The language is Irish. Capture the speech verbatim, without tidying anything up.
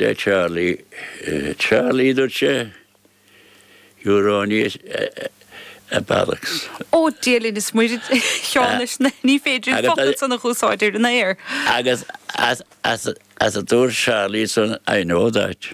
le Charlie uh, Charlie dúirt sé you're only a, a bollocks. Ó Dia is Muire Sheáin ní féidir focal san a úsáid ar an aer. Agus as, as, as a dúirt Charlie san I know that.